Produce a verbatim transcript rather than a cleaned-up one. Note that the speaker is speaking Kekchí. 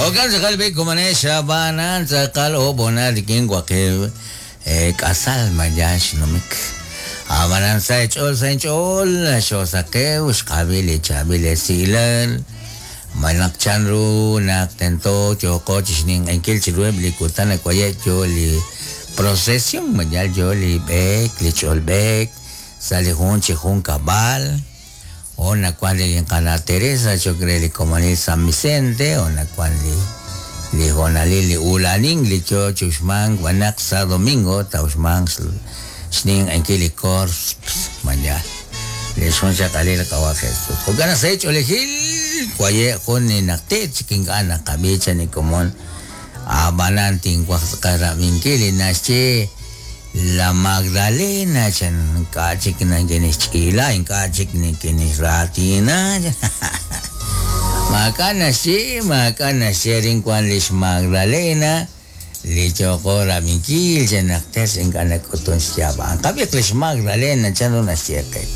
Okan tz'aqal b'ik kumanex xab'anan tz'aqal ob'onal rik'in waqib' k'asal maya xnumik. Ab'anan sa' ch'ool sa' ch'ool xosaqew xqab'il li chaab'il esilal. Malaq chanru naq tento yooqo chixninq'enkil chiruheb' li kutan akwaye' yo li procesión mayal yo li b'eek li ch'ol b'eek sa' li jun chi jun kab'al. O nakuan li Qana Teresa chok re li komonil San Vicente o nakuan li li jonalil li ulanin li yo chuxman wanaq sa domingo tauxman xninq'enkil li corps mayal li xjun xaqalil qawa Jesús. Jo'kan sa' ch'oolejil waye' jun ni naqti' chik ink'a' naqab'i chan li komon ab'anan tinwaj tz'aqal rab'inkil li naxye La Magdalena chan ink'a' chik nikinixch'ila ink'a' chik nikinixraatina. Maak'a' naxye maak'a' naxye rin wan lix Magdalena li yooqo rab'inkil chan naq tes ink'a' nak'utun xyaab'an. Qab'iq lix Magdalena chan ru naxye qe.